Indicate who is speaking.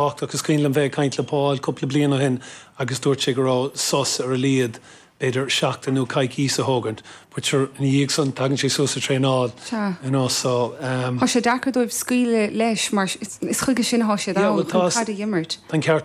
Speaker 1: Tábhachtach. Is cuimhin liom bheith ag caint le Paul cúpla bliain ó shin agus dúirt sé go raibh sos ar a laghad b'fhéidir seachtain nó coicís a thógaint but sure ina dhiaidh san tagann sé suas ag traenáil
Speaker 2: Sea.
Speaker 1: you know so um.
Speaker 2: Tá sé deacair dóibh scaoileadh leis mar is chuige sin atá siad
Speaker 1: Yeah
Speaker 2: ann,
Speaker 1: well
Speaker 2: chun
Speaker 1: tá
Speaker 2: caid a dh'imirt.
Speaker 1: Tá an ceart.